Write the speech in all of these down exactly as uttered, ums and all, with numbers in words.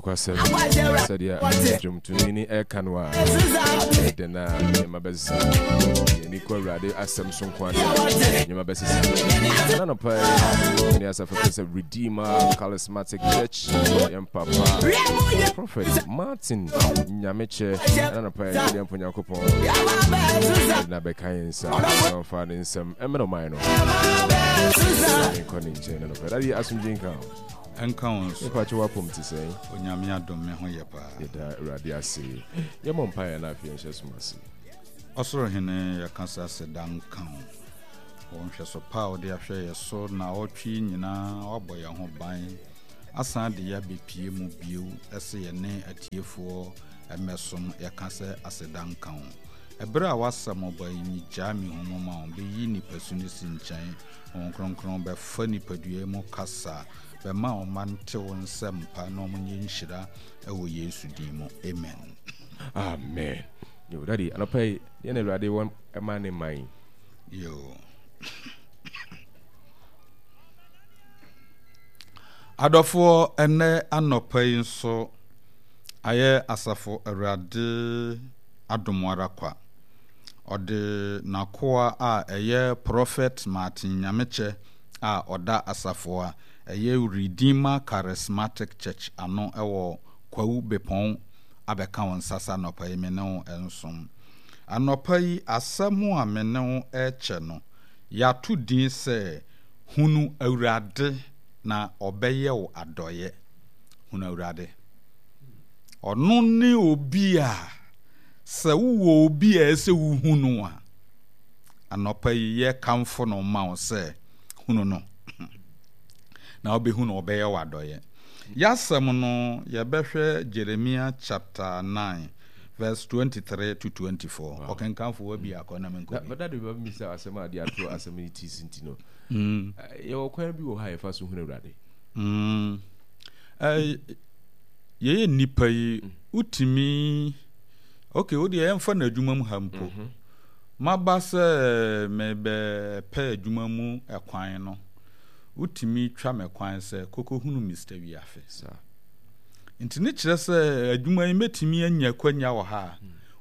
Nokwasɛm, sɛdeɛ dwomtoni ne ɛka no a, ɛdɛn na nneɛma bɛsesa? Yɛni kɔ Awurade asɛm so nko adeɛ, nneɛma bɛsesa. Na nɔpa yi ne asafo fɛ sɛ Redeemer Charismatic Church, yɛn papa Prophet Martin Nyamekyɛ, na nɔpa yi yɛde mpo Nyankopɔn na bɛka yɛn nsa na ɔmfa ne nsɛm ɛmmerɛ ɔman no. Nkɔ ne nkyɛn na nɔpa yi asomdwe nka ho. Ɛnka wo nso. Mepa kyɛ wapom te sɛn? Onyame adom, me ho yɛ paa. Yɛda Awurade ase. Yɛmmɔ mpaeɛ na afei yɛnhyɛ som ase. Ɔsoro Hene, yɛka sɛ aseda nka wo wɔ nhwɛso pa a wode ahwɛ yɛ so na ɔtwe yi nyinaa. Woabɔ yɛn ho ban asan de yɛ abɛpie mu bio ɛsɛ yɛne atiefoɔ mmɛsom. Yɛka sɛ aseda nka wo. Ɛberɛ a woasɛm ɔba yi nyigyaa me hu mu ma wo bɛyi nipasu no si nkyɛn. Honhom Kronkron bɛfa nipadua mu kasa, bɛma ɔma nte wo nsɛm pa na ɔmo nyɛ nhyira ɛwɔ Yesu din mu, amen. Amen. Yo, Daddy, anɔpa yi yɛn Awurade wɔ ɛma ne man. Yo, adɔfoɔ, ɛnɛ anɔpa yi nso ayɛ asafo Awurade adom ara kwa. Ɔde n'akoa a ɛyɛ Prophet Martin Nyamekyɛ a ɔda asafo a ɛyɛ Redeemer Charismatic Church ano ɛwɔ Kwawu Bepɔn abɛka wo nsa sa anɔpa yi me ne wo nsom. Anɔpa yi asɛm a me ne wo ɛrekyɛ no, yɛato din sɛ "Hunu Awurade na ɔbɛyɛ wo adɔeɛ". Hunu Awurade. Ɔno ne obi a sɛ wowɔ obi a ɛsɛ wohu no a, anɔpa yi yɛkamfo no ma wo sɛ hunu no na wobɛhu no, ɔbɛyɛ wo adɔeɛ. Yɛasɛm no, yɛbɛhwɛ Jeremia chapter nine verse twenty-three to twenty-four. Ɔkenkanfo wa bi akɔ na menkɔ bi. But Daddy, bɛbi sɛ asɛm a de ato asɛm yi ti si nti no, yɛwɔ kwan bi wɔ hɔ a yɛfa so hunu Awurade? Mm. Eh, yɛyɛ nnipa yi, wotumi, okay, wo deɛ yɛmfa no adwuma mu ha mpo. Maba sɛ mebɛpɛ adwuma mu ɛkwan no, wotumi twa me kwan sɛ kɔkɔhunu Mister Wiafe. Nti ne kyerɛ sɛ adwuma yi mɛtumi anya akwanya wɔ ha a,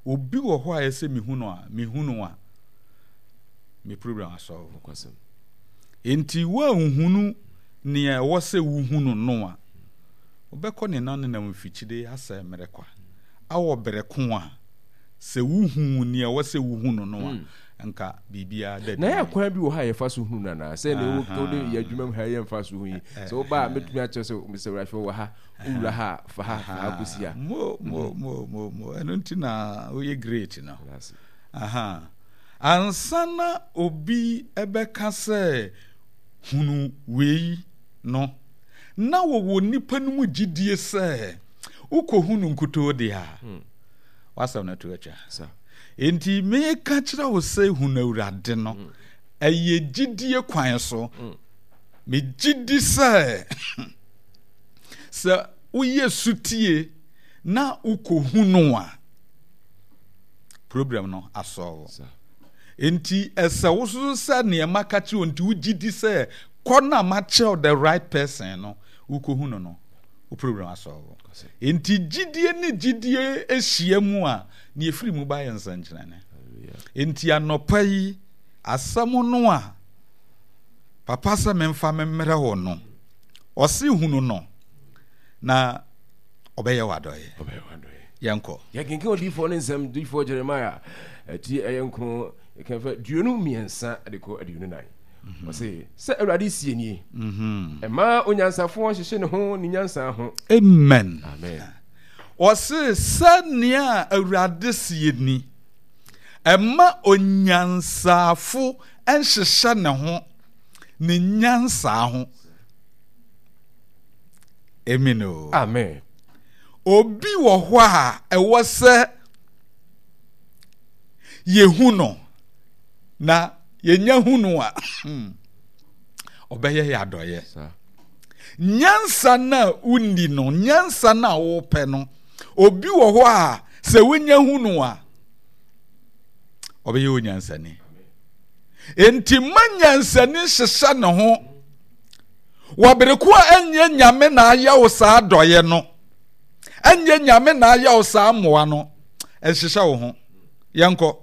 obi wɔ hɔ a ɛsɛ mehu no a, mehu no a, me problem asɔlve. Nti woanhunu nea ɛwɔ sɛ wohu no no a, wobɛkɔ ne nanenam mfikyire asɛ mmerɛ kwa. Awɔ berɛ ko a sɛ wohu nea ɛwɔ sɛ wohu no no a, nka biribiara da. Na yɛ kwan bi wɔ hɔ a yɛfa so hunu no anaa sɛ ne wode yɛ adwuma mu ha yɛmfa so hu yi, sɛ woba a mɛtumi akyerɛ sɛ Mister Wurahwɛ wɔ ha, wowura ha a, fa ha, fa ha kɔsi ha? Mo mo mo mo mo, ɛno nti na woyɛ great no. Aha, ansa na obi ɛbɛka sɛ hunu wei no, na wɔwɔ nipa no mu gyidie sɛ wokɔhu no nkutoo deɛ a, wasɛm no to atwa. Enti meka kyerɛ wo sɛ hunu Awurade no, ɛyɛ gyidie kwan so. Megye di sɛ sɛ woyɛ sutie na wokɔhu no a, problem no asɔlve. Enti ɛsɛ wo so sɛ nneɛma ka kyerɛ wo nti wogye di sɛ kɔ na makyerɛw the right person no, wokɔhu no no, wo problem asɔlve. Enti gyidie ne gyidie ahyia mu a, nea ɛfiri mu ba yɛ nsɛnkyerɛnne. Enti anɔpa yi asɛm no a papa sɛ memfa memmrɛ wo no, ɔse hunu no na ɔbɛyɛ w'adɔeɛ. Yɛnkɔ. Yɛkenkan odiyifoɔ ne nsɛm, diyifoɔ Jeremia ɛti ɛyɛ nkron, yɛkan aduonu mmiɛnsa de kɔ aduonu nan. Ɔse sɛ Awurade sie nie, ɛma onyansafoɔ nhyehyɛ ne ho ne nyansa ho. Amen. Amen. Ɔse sɛnea Awurade sie ni, ɛma onyansafo nhyehyɛ ne ho ne nyansa ho. Amen o. Amen. Obi wɔ hɔ a ɛwɔ sɛ yɛhu no, na yɛnya hu no a, ɔbɛyɛ yɛ adɔeɛ. Nyansa no a wonni no, nyansa no a wopɛ no, obi wɔ hɔ a sɛ wonya hu no a, ɔbɛyɛ onyansani. Enti ma nyansani hyehyɛ ne ho wɔ bere ko a ɛnyɛ Nyame na ayɛ wo saa adɔeɛ no. Ɛnyɛ Nyame na ayɛ wo saa mmoa no. Ɛnhyehyɛ wo ho. Yɛnkɔ.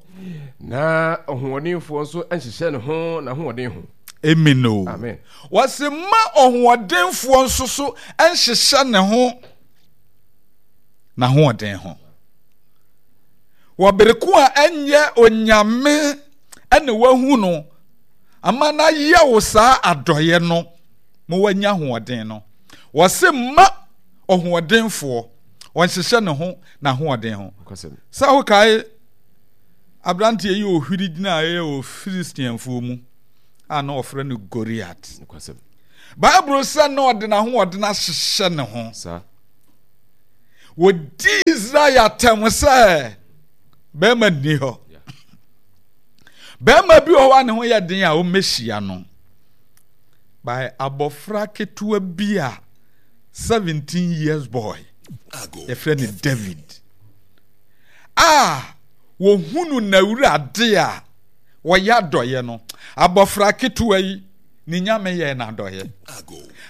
Na ɔhoɔdenfoɔ nso nhyehyɛ ne ho n'ahoɔden ho. Amen o. Amen. Wɔsi ma ɔhoɔdenfoɔ nso so nhyehyɛ ne ho n'ahoɔden ho. Wɔ bere ko a ɛnyɛ Onyame ɛna wahu no ama no ayɛ wo saa adɔeɛ no ma wanya ahoɔden no. Wɔsi ma ɔhoɔdenfoɔ ɔnhyehyɛ ne ho n'ahoɔden ho. Sɛ wokae aberanteɛ yi ohwiri gyinaeɛ wɔ Filistianfoɔ mu a na wɔfrɛ no Goliat. Bible sɛ na ɔde n'ahoɔden ahyehyɛ ne ho. Wɔdi Israel atɛm sɛ bɛrima nni hɔ. Bɛrima bi wɔ hɔ a ne ho yɛ den a wɔmmɛhyia no. By abɔfra ketewa bi a seventeen years boy yɛfrɛ no David a wɔhunu n'awurade a wɔyɛ adɔeɛ no, abɔfra ketewa yi ne Nyame yɛɛ no adɔeɛ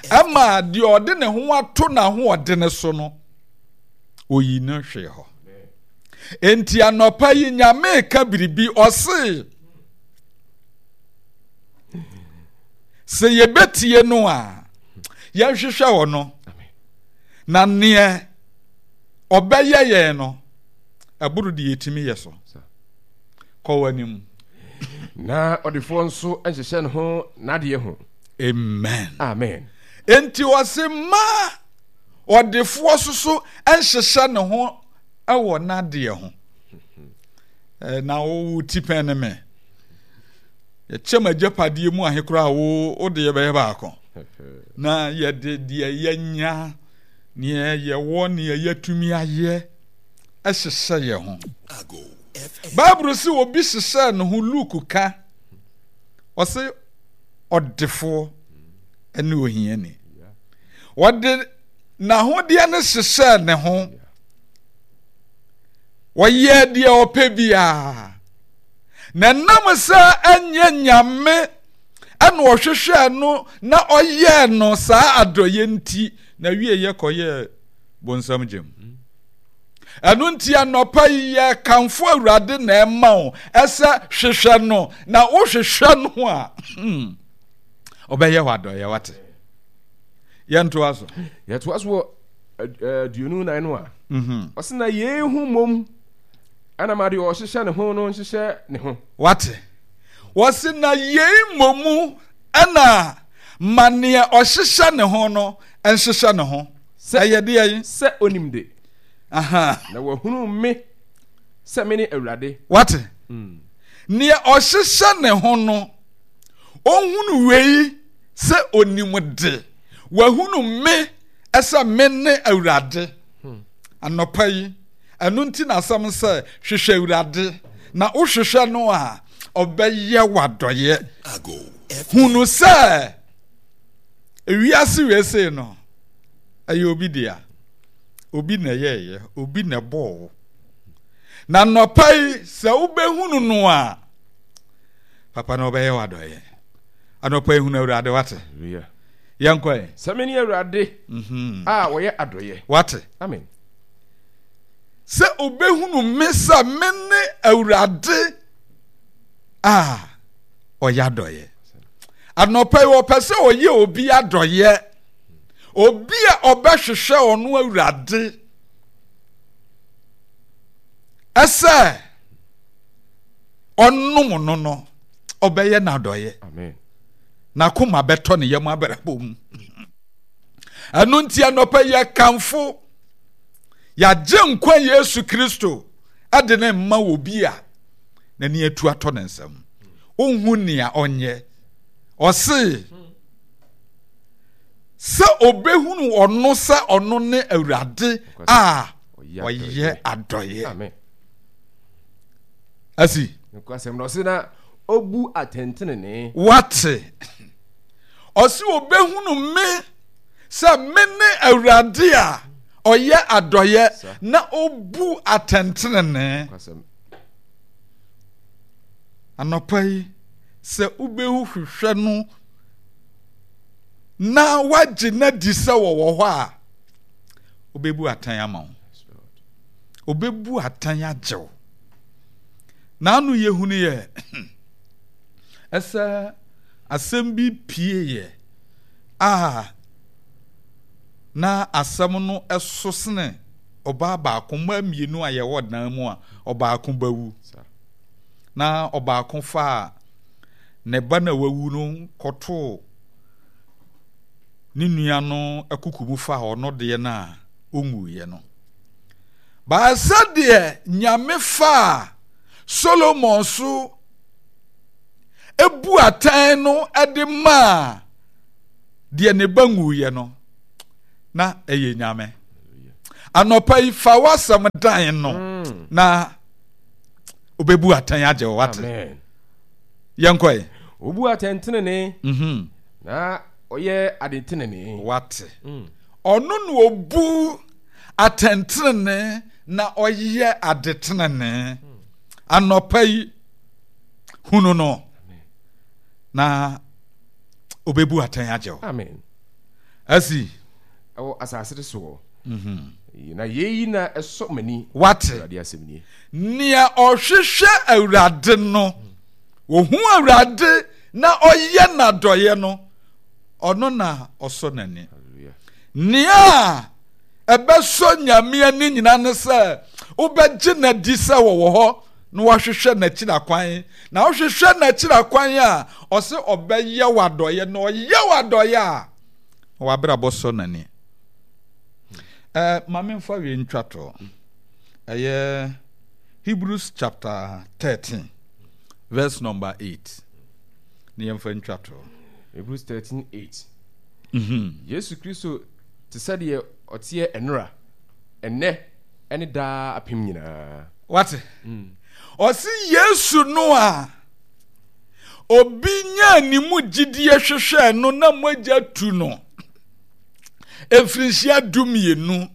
ɛma deɛ ɔde ne ho ato n'ahoɔdene so no oyi no hwee hɔ. Enti anɔpa yi Nyame ka biribi, ɔse sɛ yɛbɛtie no a yɛnhwehwɛ wɔ no na neɛ ɔbɛyɛ yɛn no ɛboro deɛ yɛtumi yɛ so. Kɔ w'anim. Na ɔdefoɔ nso nhyehyɛ ne ho n'adeɛ ho. Amen. Amen. Enti ɔse ma ɔdefoɔ soso nhyehyɛ ne ho wɔ n'adeɛ ho. Na wo ti pɛn ne me. Yɛkyɛ m'agyapadeɛ mu ahe koraa wo wo deɛ bɛyɛ baako. Na yɛde deɛ yɛnya, neɛ yɛwɔ, neɛ yɛatumi ayɛ hyehyɛ yɛn ho. Bible se obi hyehyɛɛ ne ho, Luke ka, ɔse ɔdefoɔ ne ohiani. Ɔde n'ahodeɛ no hyehyɛɛ ne ho. Ɔyɛɛ deɛ ɔpɛ biara. Na ɛnam sɛ ɛnyɛ Nyame ɛna ɔhwehwɛɛ no na ɔyɛɛ no saa adɔeɛ nti, na wieɛ kɔyɛɛ bonsam gyam. Ɛno nti anɔpa yi yɛkamfo Awurade na ɛma wo ɛsɛ hwehwɛ no, na wohwehwɛ no a hmm, ɔbɛyɛ wɔ adɔeɛ. Wate? Yɛntoa so. Yɛtoa so wɔ aduonu nan no a mhm. ɔse na yei ho mmom ɛna ma deɛ ɔhyehyɛ ne ho no nhyehyɛ ne ho. Wate? Wɔse na yei mmom ɛna ma neɛ ɔhyehyɛ ne ho no nhyehyɛ ne ho. Sɛ ɛyɛ deɛ yi. Sɛ onim de. Aha. Na wahunu me sɛ mene Awurade. Wate? Mm. Neɛ ɔhyehyɛ ne ho no, ɔhunu wei sɛ onim de. Wahunu me sɛ me ne Awurade. Hmm. Anɔpa yi, ɛno nti na asɛm sɛ hwehwɛ Awurade, na wohwehwɛ no a, ɔbɛyɛ w'adɔyɛ. Hunu sɛ ewiase wei sei no, ɛyɛ obi dea. Obi na ɛyɛɛyɛ, obi na ɛbɔɔ wo. Na nɔpa yi, sɛ wobɛhunu no a, papa na ɔbɛyɛ w'adɔyɛ. Anɔpa yi hunu Awurade, wate? Yɛnkɔ ɛ. Sɛ mene Awurade mhm. a wɔyɛ adɔyɛ. Wate? Amen. Sɛ obɛhunu me sɛ mene Awurade a ɔyɛ adɔyɛ. Anɔpa yi ɔpɛ sɛ ɔyɛ obi adɔyɛ. Obi a ɔbɛhwehwɛ ɔno Awurade ɛsɛ ɔnom no no, ɔbɛyɛ n'adɔyɛ. N'akoma bɛtɔ ne yam abrabɔ mu. Ɛno nti anɔpa yɛ kamfo yɛagye nkwa Yesu Kristo ɛde ne mma wɔ bi a n'ani atu atɔ ne nsam. Ɔnhu nea ɔnyɛ. Ɔse sɛ ɔbɛhunu ɔno sɛ ɔno ne Awurade a ɔyɛ adɔeɛ. Asi. Nokwasɛm na ɔse na ɔbu atɛntenenee. Wate? Ɔse ɔbɛhunu me sɛ me ne Awurade a ɔyɛ adɔeɛ na ɔbu atɛntenenee. Anɔpa yi, sɛ wobɛhu hwehwɛ no na woagye no adi sɛ wɔwɔ hɔ a, wobɛbu atɛn ama wo. Ɔbɛbu atɛn agye wo. N'ano yɛhunu yɛ ɛsɛ asɛm bi pieeɛ a na asɛm no ɛso sene ɔbaa baako, mmaa mmienu a yɛwɔ dan mu a ɔbaako bɛwu. Na ɔbaako faa ne ba na wawu no kɔtoo ne nua no akuku mu faa ɔno deɛ no a ɔnwuiɛ no. Baa sɛdeɛ Nyame faa Solomon so ebu atɛn no de maa deɛ ne ba nwuiɛ no, na ɛyɛ Nyame. Anɔpa yi fa w'asɛm dan no mm. na obebu atɛn agye wo wate. Yɛnkɔe. Obu atɛn tenene. Mm-hmm. Na ɔyɛ ade tenene. Wate. Mm. Ɔno na obu atɛntenenee na ɔyɛ ade tenenee. Anɔpa yi, hunu no na obebu atɛn agye wo. Amen. Asi. Ɛwɔ asase no soɔ. Mhm. Na yei na ɛsɔ m'ani. Wate. Awurade asɛm nie. Nea ɔhwehwɛ Awurade no, ohu Awurade na ɔyɛ n'adɔeɛ no, ɔno na ɔsɔ n'ani. Nea ɛbɛsɔ Nyame ani nyinaa ne sɛ wobɛgye no adi sɛ ɔwɔ hɔ na wahwehwɛ n'akyiri akwan. Na wohwehwɛ n'akyiri akwan a, ɔse ɔbɛyɛ wo adɔeɛ, na ɔyɛ wo adɔeɛ a, na w'abrabɔ sɔ n'ani. Eh, ma memfa wei ntwa toɔ. Ɛyɛ Hebrews chapter thirteen verse number eight. Ne yɛmfa ntwa toɔ. Hebrews thirteen eight. Mm-hmm. Yesu Kristo te sɛ deɛ ɔteɛ ɛnora, ɛnnɛ, ɛne daa apem nyinaa. Wate? Mm. Ɔse Yesu no a obi nyaa ne mu gyidie hwehwɛɛ no na mogya tu no mfirinhyia du mmienu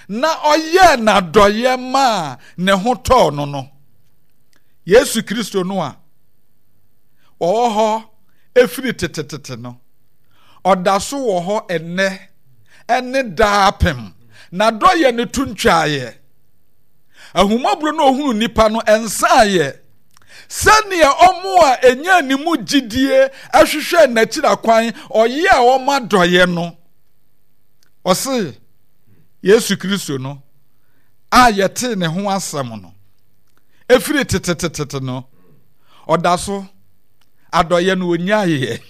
na ɔyɛɛ n'adɔeɛ maa ne ho tɔɔ no no. Yesu Kristo no a ɔwɔ hɔ ɛfiri tetetete no, ɔda so wɔ hɔ ɛnnɛ ɛne daapem. N'adɔeɛ no to ntwaeɛ. Ahummɔborɔ no ɔhunu nnipa no ɛnsaeɛ. Sɛdeɛ ɔmo a ɛnyaa ne mu gyidie ɛhwehwɛɛ n'akyiri akwan ɔyɛɛ ɔmo adɔeɛ no, ɔse Yesu Kristo no a yɛtee ne ho asɛm no ɛfiri tetetete no, ɔda so adɔeɛ no ɔnyaeɛ.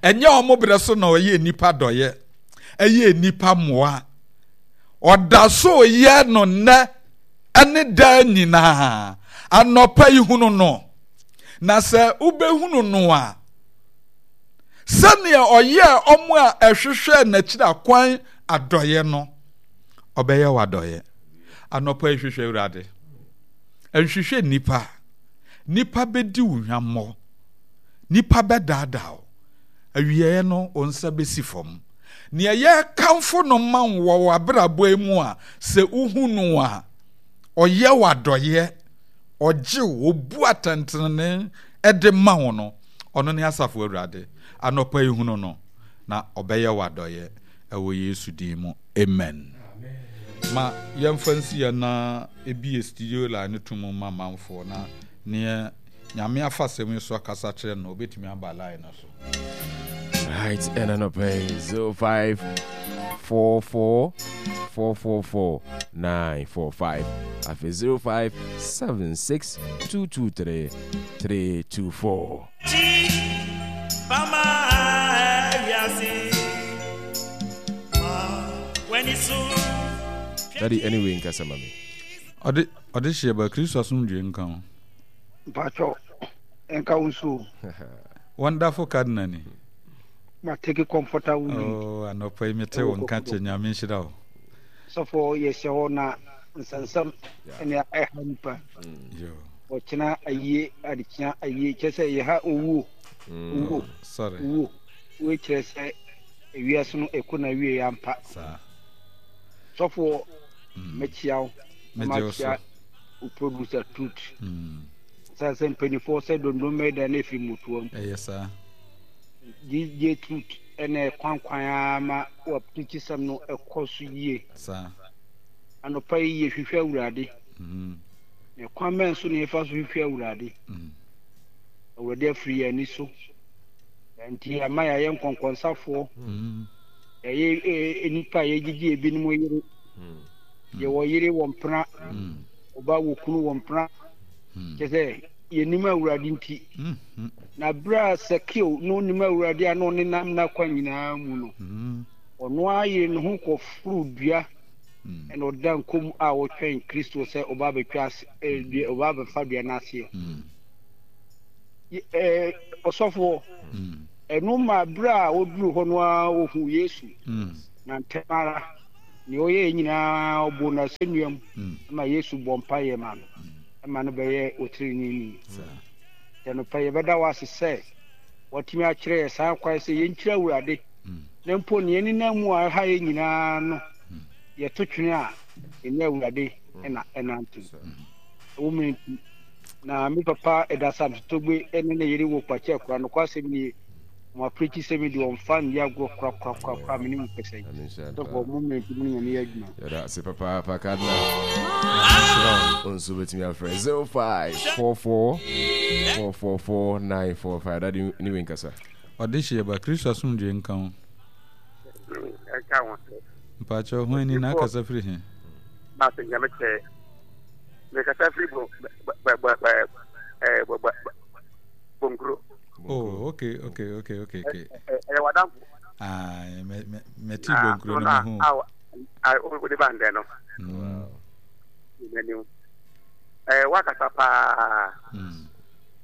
Ɛnyɛ ɔmo berɛ so na ɔyɛ nnipa dɔeɛ, ɛyɛ nnipa mmoa. Ɔda so yɛ no nnɛ ɛne daa nyinaa. Anɔpa yi hunu no, na sɛ wobɛhunu no a, sɛdeɛ ɔyɛɛ ɔmo a ɛhwehwɛɛ n'akyiri akwan adɔeɛ no, ɔbɛyɛ wo adɔeɛ. Anɔpa yi hwehwɛ Awurade. Nhwehwɛ nnipa. Nnipa bɛdi wo hwammɔ. Nnipa bɛdaadaa wo. Awieeɛ no, wo nsa bɛsi fam. Nea yɛrekamfo no ma wo wɔ w'abrabɔ yi mu a, sɛ wohu no a, ɔyɛ wo adɔeɛ, ɔgye wo, ɔbu atɛntenenee de ma wo no, ɔno ne Asafo Awurade. Anɔpa yi hunu no, na ɔbɛyɛ wo adɔeɛ ɛwɔ Yesu din mu. Amen. Ma yɛmfa nsi yɛn na ebie studio line no to mu ma manfoɔ na neɛ Nyame afa asɛm yi so akasa kyerɛ no, obetumi aba line no so. Right, ɛna nɔpɛ yi zero five four four four four four nine four five afei zero five seven six two two three three two four. Daddy, anyway, nkasa ma me. Ɔde ɔde hyɛ ba Kristo asomdwoe nka ho. Mpakyɛw, nka wo nso o. Wonderful Cardinal ni. Ma take comfortable lead. Oh, anɔpa yi mete wo nka kyɛ Nyame nhyira wo. Sɔfo yɛhyɛ hɔ na nsɛnsɛm ɛne ɛha nipa. Yo. Ɔkyena ayie adekyea ayie kyerɛ sɛ yɛha owuo. Mm. Owuo. Sorry. Owuo. Wei kyerɛ sɛ ewiase no ɛkɔ na wie ampa. Saa. Sɔfo mɛkyia wo. Na Megye wo so. makyia wo producer Truth. Mm. Sɛ sɛ mpanimfoɔ sɛ dondon mɛda na ɛfiri mmotoa mu. Ɛyɛ saa. D J Truth ɛna ɛkwankwan ara ma wapirikyi sɛm no ɛkɔ so yie. Saa. Anɔpa yi yɛhwehwɛ Awurade. Na kwan bɛn so na yɛfa so hwehwɛ Awurade? Awurade afiri yɛn ani so. Nti ama yɛayɛ nkɔnkɔnsafoɔ. Yɛyɛ nnipa a yɛgyegye ebinom yere. Yɛwɔ yere wɔ mpena. Ɔba wɔ kunu wɔ mpena. Kyerɛ sɛ yɛnim Awurade nti. Na berɛ a Sakeo na ɔnim Awurade a na ɔnenam n'akwan nyinaa mu no, ɔno ara yere ne ho kɔforo dua ɛna ɔda nkom a ɔtwɛn Kristo sɛ ɔba abɛtwa ase dua ɔba abɛfa dua no aseɛ. Ɛɛ ɔsɔfoɔ, ɛno ma berɛ a ɔduru hɔ no ara ɔhu Yesu. Na ntɛm ara nea ɔyɛɛ nyinaa ɔbɔ no asɛnnua mu ma Yesu bɔ mpaeɛ ma no ma no bɛyɛ ɔteneneeni. Anɔpa yɛbɛda wo ase sɛ watumi akyerɛ yɛ saa kwan sɛ yɛnkyerɛ Awurade na mpo nea ɛnenam mu a ɛha yɛ nyinaa no yɛto twene a ɛnyɛ Awurade na ɛnante. Ɛwɔ mu nti na me papa ɛda Samsotogbe ne ne yere wɔ Kwakye Akura. Nokwasɛm nie, wɔn apirikyi sɛm yi deɛ wɔmfa nni agorɔ korakorakorakora, me ne mu kɛsɛ yi. Sɔfo, mo mmerɛ nti mo ne Nyame yɛ adwuma. Yɛda ase papaapa Cardinal. Wo nso wobɛtumi afrɛ zero five four four four four four nine four five. Dade ne wei nkasa. Ɔde hyeɛ ba, Kristo asomdwoe nka wo. Ɛnka wo nso. Mpakyɛw, hwan ni na akasa firi he? Maase Nyame kyɛ. Mekasa firi bo bɛ bɛ bɛ bɛ bɛ Bonkuro. Oh, okay, okay, okay, okay, okay. Ɛyɛ w'adamfo. Ah, me me me ti Bonkuro no me ho. Ah, o de ba ndɛ no. N'anim. Ɛɛ wakasa paa.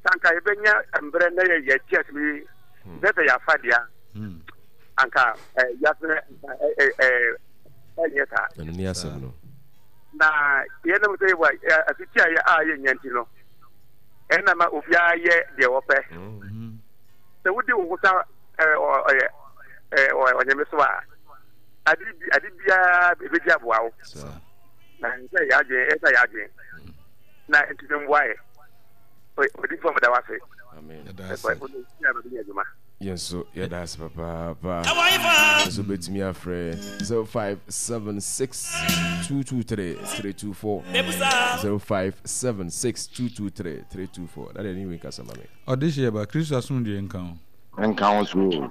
Sanka yɛbɛnya mbrɛ na yɛ yɛ kyɛ mi bɛbɛ yɛ afa deɛ. Anka ɛɛ yasɛ ɛɛ ɛɛ ɛnyɛ saa. Ɛno ni asɛm no. Na yɛnam sɛ yɛwɔ asiti a yɛ a yɛnya nti no, ɛna ma obiara yɛ deɛ wɔpɛ. Sɛ wodi wo ho sa ɔnyame so a, ade bi ade biara ebedi aboa wo. Na ɛsɛ yɛ adwene, ɛsɛ yɛ adwene. Na ntumi mboa yɛ. Odi fam da wase. Amen. Ɛsɛ ɔde adwuma. Yɛn nso yɛda ase papaapa. Nso bɛtumi afrɛ zero five seven six two two three three two four zero five seven six two two three three two four. Dade ne wei nkasa ma me. Ɔde hyeɛ ba, Kristo asomdwoe nka wo. Nka wo so.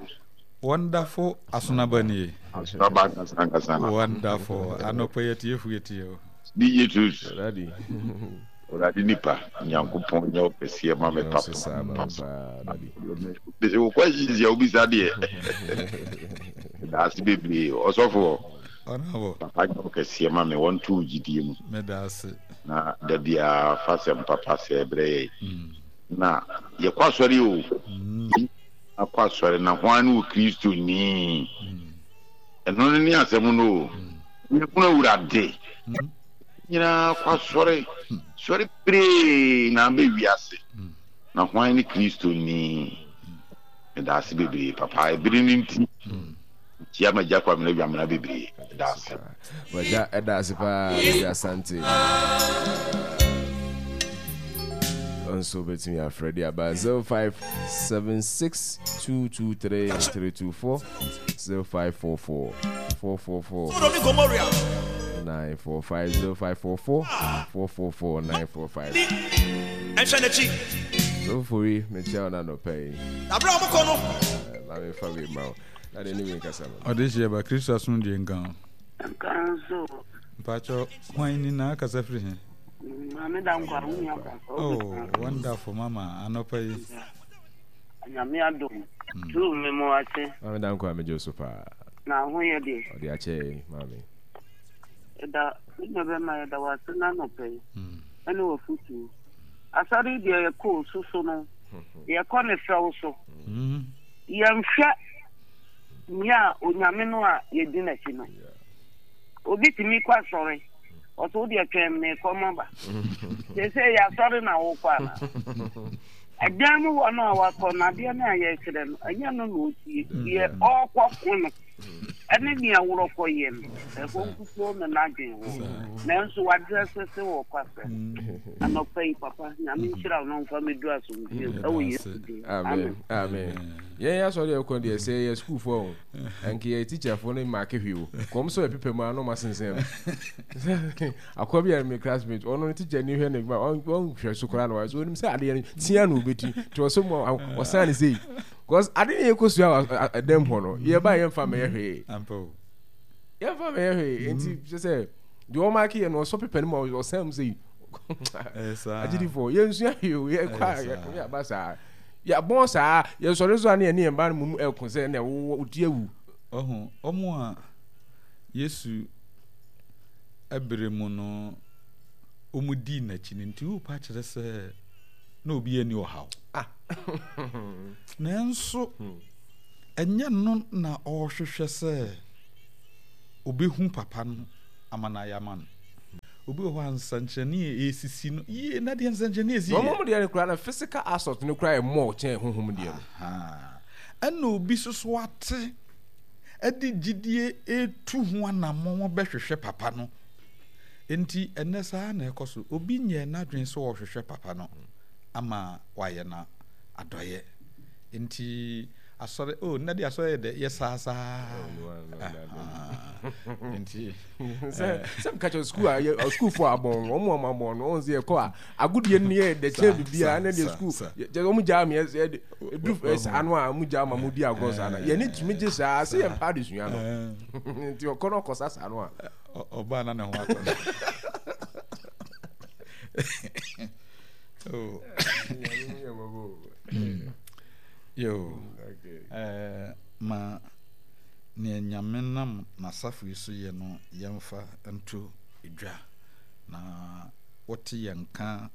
Wonderful Asonaba nie. Asonaba ankasa ankasa no. Wonderful. Anɔpa yi atiefo yɛtie o. D J Truth. Daddy. Awurade nipa, Nyankopɔn nyɛ wo kɛseɛ ma me papa. Daddy. Bese wo questions yɛ wobisa deɛ. Daase bebree. Ɔsɔfoɔ. Honorable. Papa nyɛ wo kɛseɛ ma me, wɔnto wo gyidie mu. Meda ase. Na da biara fa sɛm papa sɛ brɛ yɛ. Na yɛkɔ asɔre o. Akɔ asɔre na hwan ne wɔ Kristo ni? Ɛno no ne asɛm no o. Yɛhunu Awurade. Nyinaa kɔ asɔre. Sɔre bebree na abɛ wiase. Na hwan ne Kristo ni? Meda ase bebree papa. Ebere no nti. Ntia magya Kwamina Dwamena bebree. Meda ase. Wagya ɛda ase paa Dede Asante. Nso bɛtumi afrɛ de aba zero five seven six two two three three two four zero five four four four four four nine four five zero five four four four four four nine four five. So fori mekyia wo na nɔpɛ yi. Maame fa wei ma wo. Na de ne wei nkasa ma. Ɔde hyeɛ ba, Kristo asomdwoe nka wo. Nka nso. Mpakyɛw, hwan ni na akasa firi he? Maame da nkwa, wo nua ba. Oh, wonderful mama, anɔpa yi. Nyame adom. Tu me mo ase. Maame da nkwa, megye so paa. Na ho yɛ deɛ. Ɔde akyɛ maame. Ɛda, me nua bɛma yɛda wase na anɔpa yi. Ɛne wafutuo. Asɔre deɛ yɛkɔɔ soso no, yɛkɔ ne fɛw so. Yɛnhwɛ nea Onyame no a yɛdi n'akyi no. Obi tumi kɔ asɔre, ɔsɛ wo deɛ twɛn mekɔ maba. Seesei yɛ asɔre na wokɔ ana? Ɛdan mu hɔ no a wakɔ no, adeɛ no a yɛkyerɛ no, ɛnyɛ no na ɔtie. Deɛ ɔrekɔ ko no, Ɛne nea worɔkɔyɛ no, ɛhɔ nkutoo na n'adwene wɔ. Nanso wadrɛse se wɔ kwasɛ. Anɔpa yi, papa, Nyame nhyira wo na ɔmfa me duru asomdwoe mu ɛwɔ Yesu din. Amen. Amen. Yɛn asɔre yɛ kɔ deɛ sɛ yɛ sukuufoɔ o, nka yɛ teacherfoɔ no maake hwee o. Kɔm sɛ yɛ mu a na ɔma sensɛn no. Akɔ bi a me classmate, ɔno no teacher ni hwɛ ne ma ɔnhwɛ so koraa na wayɛ so onim sɛ adeɛ no tia na obɛti. Nti ɔsɛ mu ɔsan ne sei. Because ade ne yɛkɔ sua wɔ ɛdɛm hɔ no, yɛba yɛmfa mɛyɛ hwee. Yɛmfa mɛyɛ hwee. Nti kyerɛ sɛ deɛ ɔmaake yɛ no ɔsɔ pepa no mu a ɔsan mu sei. Agyidifoɔ yɛnsua hwee o, yɛkɔ a yɛaba saa. Yɛabɔn saa, yɛsɔre so a ne yɛne yɛn ba no mu ɛko sɛ na wowɔ wodi awu. Ɔho, ɔmo a Yesu ɛbere mu no ɔmo dii n'akyi no nti wopa kyerɛ sɛ na obi ani ɔhaw. Ah. Nanso ɛnyɛ no na ɔrehwehwɛ sɛ obehu papa no ama no ayɛ ama no. Obi wɔ hɔ a nsɛnkyerɛnne a ɛresisi no yie na deɛ nsɛnkyerɛnne ɛsi yɛ. Wɔn deɛ no koraa na physical assault no koraa yɛ more kyɛn honhom deɛ no. Ɛna obi nso so ate ɛde gyidie etu ho anammɔn bɛhwehwɛ papa no. Nti ɛnɛ saa na ɛkɔ so. Obi nyɛ n'adwene sɛ ɔhwehwɛ papa no ama wayɛ no adɔyɛ. Nti asɔre oh nnɛ de asɔre yɛ dɛ yɛ saa saa. Nti sɛ sɛ meka kyerɛ sukuu a yɛ sukuufoɔ abɔn wɔn mu wɔn abɔn no wɔn sɛ yɛkɔ a agodie no yɛ dɛ kyɛn biribiara ne deɛ sukuu kyɛ wɔn gyaa mi yɛ de edu saa no a wɔn gyaa ma mo di agorɔ saa na yɛn ni tumi gye saa sɛ yɛn mpa adesua no nti ɔkɔ no ɔkɔ sa saa no a. Ɔbaa na ne ho atɔ no. Oh. Yo. Eh, ma nea Nyame nam n'asafo yi so yɛ no yɛmfa nto dwa na wote yɛn nka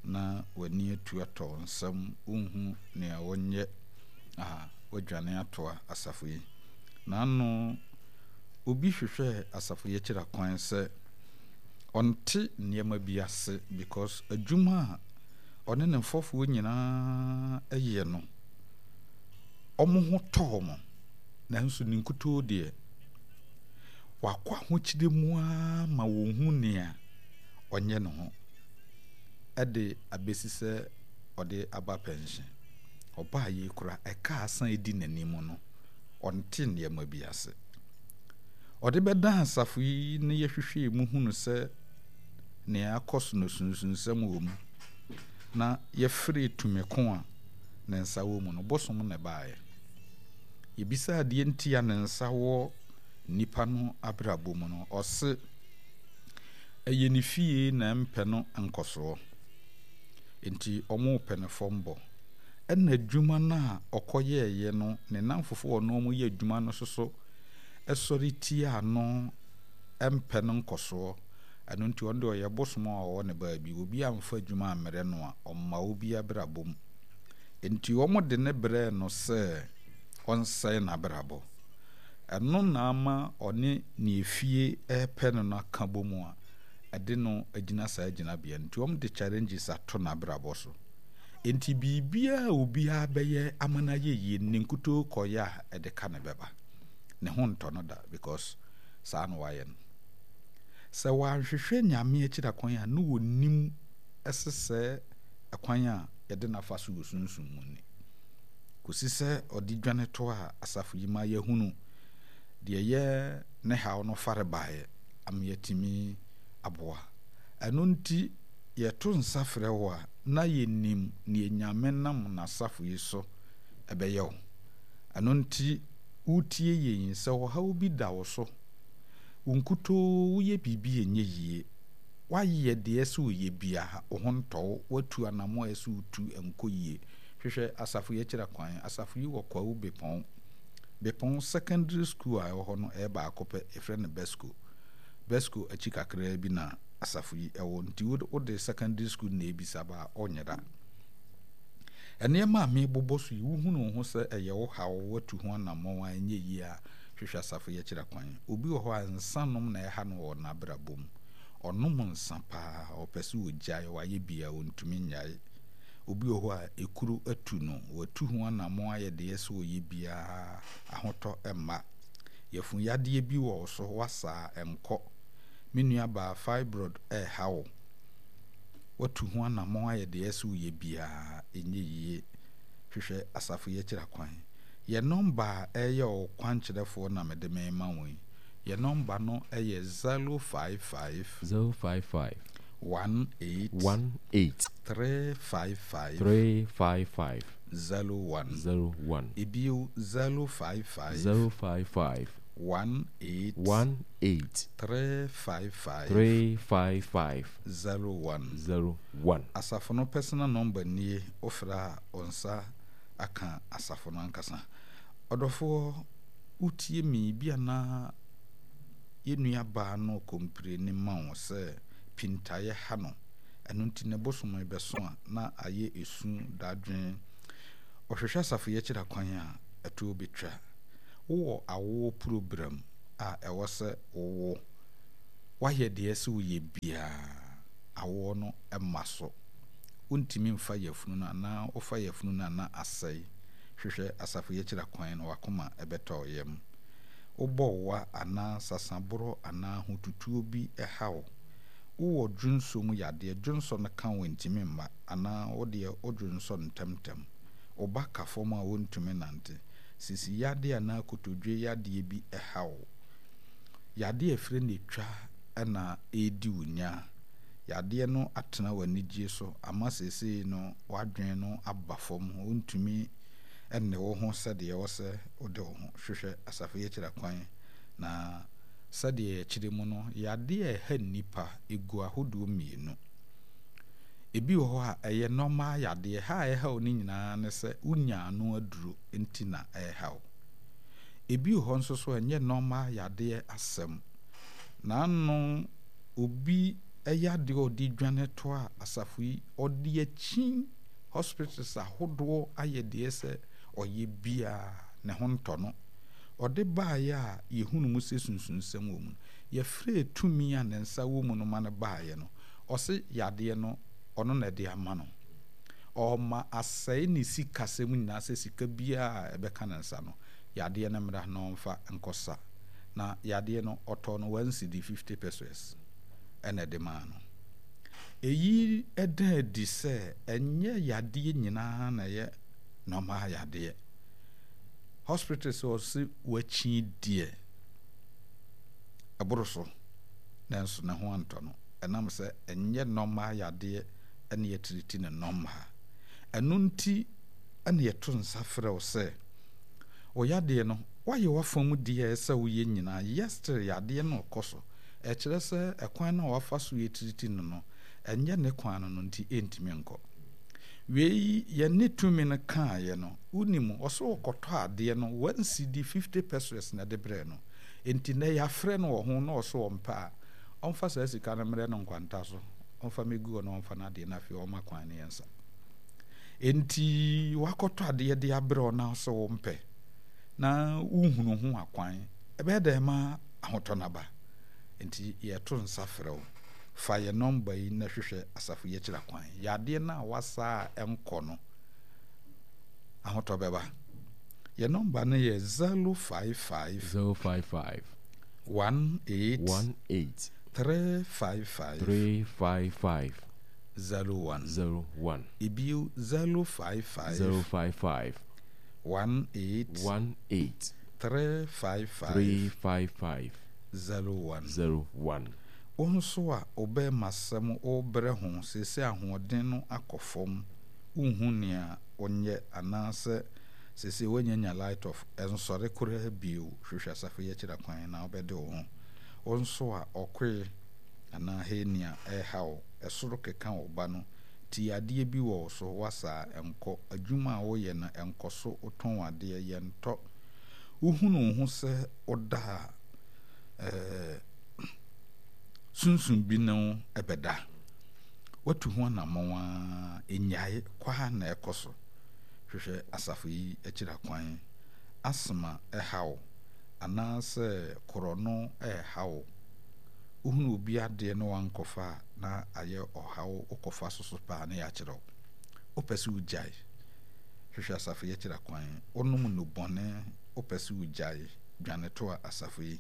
na w'ani atu atɔ wo nsam wonhu nea wonyɛ a woadwane atoa asafo yi. N'ano obi hwehwɛɛ asafo yi akyira kwan sɛ ɔnte nneɛma bi ase because adwuma a ɔne ne mfɔfoɔ nyinaa yɛ no wɔn ho tɔ wɔn nanso ne nkutoo deɛ wakɔ ahokyere mu ara ma wɔnhu nea ɔnyɛ ne ho ɛde abɛsi sɛ ɔde aba pɛnhyen. Ɔbaa yei koraa ɛka asan edi n'anim no ɔnte nneɛma bi ase. Ɔde bɛdan asafo yi na yɛhwehwɛɛ mu hunu sɛ nea akɔ so no sunsunsɛm wɔ mu na yɛfrɛɛ tumi ko a ne nsa wɔ mu no bosom na ɛbaeɛ. Yɛbisaa deɛ nti a ne nsa wɔ nipa no abrabɔ mu no, ɔse ɛyɛ ne fie na ɛmpɛ no nkɔsoɔ. Nti ɔmo pɛ no fam bɔ. Ɛna adwuma no a ɔkɔyɛɛyɛ no, ne nnamfofoɔ a ɔne ɔmo yɛ adwuma no soso ɛsɔre tia no ɛmpɛ no nkɔsoɔ. Ɛno nti ɔno deɛ ɔyɛ bosom a ɔwɔ ne baabi. Obi amfa adwuma ammrɛ no a, ɔmma obi abrabɔ mu. Nti wɔn de ne brɛɛ no sɛ ɔnsɛe n'abrabɔ. Ɛno na ama ɔne ne efie ɛrepɛ no no aka bɔ mu a ɛde no agyina saa gyinabea no. Nti wɔn de challenges ato n'abrabɔ so. Nti biribiara a obiara bɛyɛ ama no ayɛ yie ne nkutoo kɔyɛ a ɛde ka ne bɛba. Ne ho ntɔ no da because saa na wayɛ no. Sɛ wanhwehwɛ Nyame akyira kwan a na onim ɛsesɛ ɛkwan a yɛde n'afa so wɔ sunsum mu ni. Kɔsi sɛ ɔde dwane to a asafo yi ma yɛhunu deɛ yɛ ne haw no fare baeɛ ama yɛatumi aboa. Ɛno nti yɛto nsa frɛ wo a na yɛnim nea Nyame nam n'asafo yi so ɛbɛyɛ wo. Ɛno nti wotie yɛn sɛ ɔhaw bi da wo so, wo nkutoo woyɛ biribi a ɛnyɛ yie, woayɛ deɛ ɛsɛ woyɛ biara, wo ho ntɔ wo, woatu anammɔn a ɛsɛ wotu nkɔ yie. Hwehwɛ asafo yi akyira kwan. Asafo yi wɔ Kwawu Bepɔn. Bepɔn secondary school a ɛwɔ hɔ no ɛyɛ baako pɛ, yɛfrɛ no Besco. Besco akyi kakraa bi na asafo yi ɛwɔ nti wode secondary school na ebisa ba a ɔnyera. Nneɛma a mebobɔ so yi, wohunu wo ho sɛ ɛyɛ wo haw, woatu ho anammɔn a ɛnyɛ yie a, hwehwɛ asafo yi akyira kwan. Obi wɔ hɔ a nsa nom na ɛha no wɔ n'abrabɔ mu. Ɔnom nsa paa, ɔpɛ sɛ ogyae, wayɛ bi a ɔntumi nnyae. Obi wɔ hɔ a ekuro atu no, watu ho anammɔn ayɛ deɛ sɛ ɔyɛ biara, ahotɔ mma. Yafunyadeɛ bi wɔ wo so, woasa a ɛnkɔ. Me nuabaa, fibroid ɛreha wo. Woatu ho anammɔn ayɛ deɛ ɛsɛ sɛ woyɛ biara, ɛnyɛ yie. Hwehwɛ asafo yi akyiri akwan. Yɛn nɔmba a ɛyɛ wo kwankyerɛfoɔ na mede merema wo yi. Yɛn nɔmba no yɛ zero five five. Zero five five. One eight. One eight. Three five five. Three five five. Zero one. Zero one. Ebio zero five five. Zero five five. One eight. One eight. Three five five. Three five five. Zero one. Zero one. Asafo no personal number nie, wofrɛ a wo nsa aka asafo no ankasa. Ɔdɔfoɔ, wotie me bi anaa yɛn nuabaa no kɔmpreni ma wo sɛ pintaeɛ ha no. Ɛno nti ne bosom bɛso a na ayɛ esu dadwen. Ɔhwehwɛ asafo yi akyiri akwan a ɛtoɔ bɛtwa. Wowɔ awoɔ program a ɛwɔ sɛ wowɔ. Woayɛ deɛ sɛ woyɛ biara, awoɔ no mma so. Wontumi mfa yafunu no anaa wofa yafunu no anaa asɛe. Hwehwɛ asafo yi akyiri akwan na wakoma ɛbɛtɔ wo yam. Wobɔ wa anaa sasaborɔ anaa ahotutuo bi ɛha wo. Wowɔ dwonsɔ mu yadeɛ, dwonsɔ no ka wo ntumi mma anaa wodeɛ wodwonsɔ ntɛmntɛm. Wo ba ka fam a wontumi nante. Sisi yadeɛ anaa kotodwe yadeɛ bi ɛha wo. Yadeɛ a ɛfiri ne twa ɛna ɛredi wo nya. Yadeɛ no atena w'anigye so ama seesei no w'adwene no aba fam, wontumi ɛnne wo ho sɛdeɛ ɛwɔ sɛ wode wo ho. Hwehwɛ asafo yi akyiri akwan na sɛdeɛ yɛkyerɛ mu no, yadeɛ a ɛha nnipa egu ahodoɔ mmienu. Ebi wɔ hɔ a ɛyɛ normal yadeɛ. Ha a ɛha wo no nyinaa ne sɛ wonya ano aduro nti na ɛha wo. Ebi wɔ hɔ nso so a ɛnyɛ normal yadeɛ asɛm. N'ano obi ɛyɛ adeɛ a ɔde dwane to a asafo yi ɔde akyi hospitals ahodoɔ ayɛ deɛ sɛ ɔyɛ biara ne ho ntɔ no. Ɔde baeɛ a yɛhunu mu sɛ sunsunsɛm wɔ mu no, yɛfrɛ tumi a ne nsa wɔ mu no ma no baeɛ no, ɔse yadeɛ no ɔno na ɛde ama no. Ɔma asɛe ne sikasɛm nyinaa sɛ sika biara a ɛbɛka ne nsa no, yadeɛ no mmra na ɔmfa nkɔsa. Na yadeɛ no ɔtɔ no one cedi fifty pesewas ɛna ɛde maa no. Eyi ɛda adi sɛ ɛnyɛ yadeɛ nyinaa na ɛyɛ normal yadeɛ. Hospitals ɔse wakyi deɛ ɛboro so nanso ne ho antɔ no. Ɛnam sɛ ɛnyɛ normal yadeɛ ɛne yɛtiriti ne normal. Ɛno nti ɛne yɛto nsa frɛ wo sɛ wo yadeɛ no woayɛ w'afam deɛ ɛsɛ woyɛ nyinaa, yet still yadeɛ no ɔkɔ so. Ɛkyerɛ sɛ ɛkwan no a wafa so yɛtiriti no no, ɛnyɛ ne kwan no no nti ɛntumi nkɔ. Wei yɛne tumi no kaeɛ no, wonim ɔsɛ ɔkɔtɔ adeɛ no one cedi fifty pesewas na ɛde brɛ no. Nti nɛ yɛafrɛ no wɔ ho na ɔsɛ ɔmpɛ a, ɔmfa saa sika no mmerɛ no nkwanta so, ɔmfa mɛgu hɔ na ɔmfa no adeɛ no afei ɔma kwan no yɛnsa. Nti wakɔtɔ adeɛ de abrɛ wo na ɔsɛ wompɛ na wohunu ho akwan, ɛbɛyɛ dɛ ma ahotɔ no aba. Nti yɛto nsa frɛ wo. Fa yɛ nɔmba yi na hwehwɛ asafo yi akyiri akwan. Yadeɛ no a wasa a ɛnkɔ no, ahotɔ bɛba. Yɛ nɔmba no yɛ zero five five. Zero five five. One eight. One eight. Three five five. Three five five. Zero one. Zero one. Ebio zero five five. Zero five five. One eight. One eight. Three five five. Three five five. Zero one. Zero one. Wo nso a wobɛma asɛm wobrɛ ho seesei ahoɔden no akɔ fam, wonhu nea wonyɛ anaasɛ seesei woanyanya light off, ɛnsɔre koraa bio, hwehwɛ asafo yi akyiri akwan na wobɛde wo ho. Wo nso a ɔkoe anaa hernia ɛreha wo, ɛsoro keka wo ba no, ti adeɛ bi wɔ wo so, wasa ɛnkɔ, adwuma a woyɛ no ɛnkɔ so, wotɔn adeɛ, yɛntɔ. Wohunu wo ho sɛ woda a, ɛɛ, sunsun bi ne wo ɛbɛda. Watu ho anammɔn a ɛnyae kwaa na ɛkɔ so. Hwehwɛ asafo yi akyiri akwan. Asthma ɛha wo anaasɛ korɔno ɛha wo. Wohunu obi adeɛ na wankɔfa a na ayɛ ɔhaw, wokɔfa so so paa na yɛakyerɛ wo. Wopɛ sɛ wogyae. Hwehwɛ asafo yi akyiri akwan. Wonom nnubɔne, wopɛ sɛ wogyae. Dwane toa asafo yi.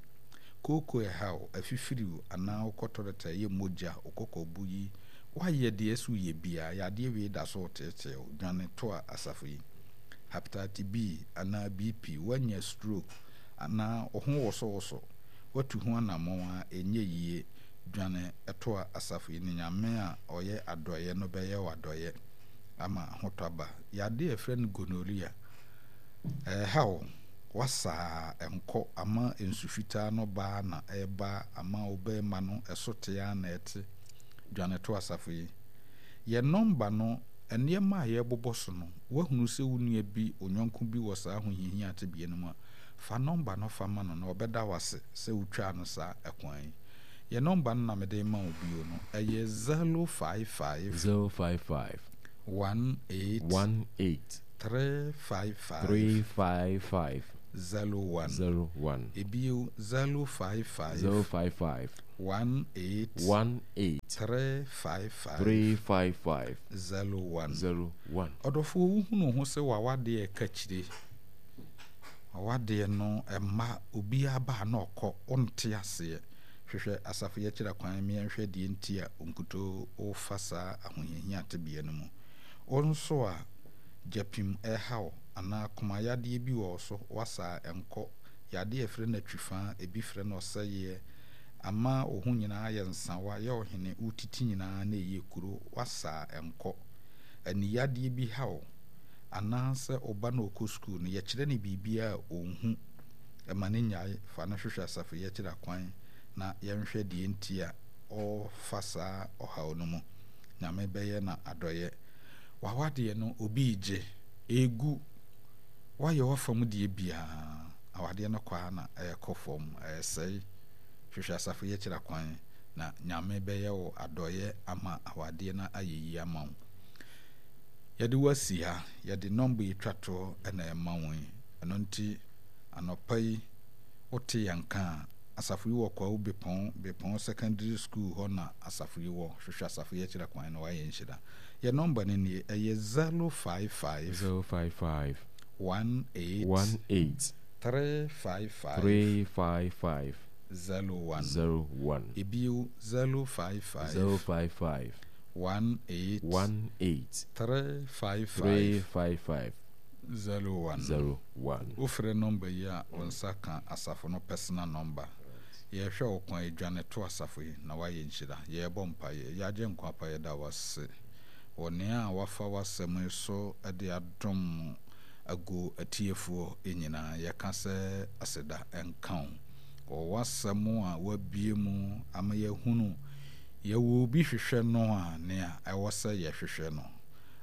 Kooko ɛha wo, afifiri wo, anaa wokɔ tɔlɛt a ɛyɛ mogya, wo kɔkɔbo yi, woayɛ deɛ ɛsɛ woyɛ biara, yadeɛ wei da so reteetee wo, dwane toa asafo yi. Hepatitis B anaa B P, woanya stroke anaa wo ho wosowoso, woatu ho anammɔn a ɛnyɛ yie, dwane toa asafo yi, na Nyame a ɔyɛ adɔeɛ no bɛyɛ wo adɔeɛ ama ahotɔ aba. Yadeɛ a yɛfrɛ no gonorrhea, ɛha wo, wasa a ɛnkɔ, ama nsu fitaa no ba na ɛba, ama wo bɛrima no ɛso te ara na ɛte, dwane to asafo yi. Yɛn nɔmba no, nneɛma a yɛrebobɔ so no, woahunu sɛ wo nua bi, wo yɔnko bi wɔ saa ahohiahia tebea no mu a, fa nɔmba no fa ma no na ɔbɛda wo ase sɛ wotwaa no saa ɛkwan yi. Yɛn nɔmba no na mede rema wo bio no, ɛyɛ zero five five. Zero five five. One eight. One eight. Three five five. Three five five. Zero one. Zero one. Ebio zero five five. Zero five five. One eight. One eight. Three five five. Three five five. Zero one. Zero one. Ɔdɔfoɔ, wohunu ho sɛ w'awadeɛ ɛka kyire. W'awadeɛ no ɛma obiara ba na ɔkɔ, wonte aseɛ. Hwehwɛ asafo yi akyiri akwan mmiɛnhwɛ deɛ nti a nkutoo wofa saa ahohiahia tebea no mu. Wo nso a gyapim ɛhaw anaa komayadeɛ bi wɔ wo so, wasa a ɛnkɔ, yadeɛ a ɛfrɛ no atwifaa, ebi frɛ no ɔsɛeɛ, ama wo ho nyinaa ayɛ nsawa, yɛ ɔhene, wotiti nyinaa na ɛyɛ kuro, wasa a ɛnkɔ. Aniyadeɛ bi haw anaasɛ ɔba na ɔkɔ sukuu no, yɛkyerɛ no biribiara a ɔnhu, ɛma no nyae, fa no hwehwɛ asafo yi akyiri akwan na yɛnhwɛ deɛ nti a ɔrefa saa ɔhaw no mu. Nyame bɛyɛ na adɔyɛ. W'awadeɛ no obi regye, ɛregu, woayɛ w'afam deɛ biara, awadeɛ no kɔ ara na ɛrekɔ fam, ɛresɛe. Hwehwɛ asafo yi akyiri akwan na Nyame bɛyɛ wo adɔyɛ ama awadeɛ no ayɛ yie ama wo. Yɛde wo asi ha, yɛde nɔmba yi twa toɔ na ɛma wo yi. Ɛno nti anɔpa yi wote yɛn ka a, asafo yi wɔ Kwawu Bepɔn, Bepɔn Secondary School hɔ na asafo yi wɔ. Hwehwɛ asafo yi akyiri akwan na wayɛ nhyira. Yɛ nɔmba no nie, ɛyɛ zero five five. Zero five five. One eight. One eight. Three five five. Three five five. Zero one. Zero one. Ebio zero five five. Zero five five. One eight. One eight. Three five five. Three five five. Zero one. Zero one. Wofrɛ nɔmba yi a, wo nsa ka asafo no personal number. Yɛhwɛ wo kwan, dwane to asafo yi na wayɛ nhyira. Yɛrebɔ mpaeɛ. Yɛagye nkwa pa, yɛda wo ase wɔ nea a wafa w'asɛm yi so de adom agu atiefoɔ nyinaa. Yɛka sɛ aseda nka wo wɔ w'asɛm a wabue mu ama yɛahunu yɛwɔ obi hwehwɛ no a nea ɛwɔ sɛ yɛhwehwɛ no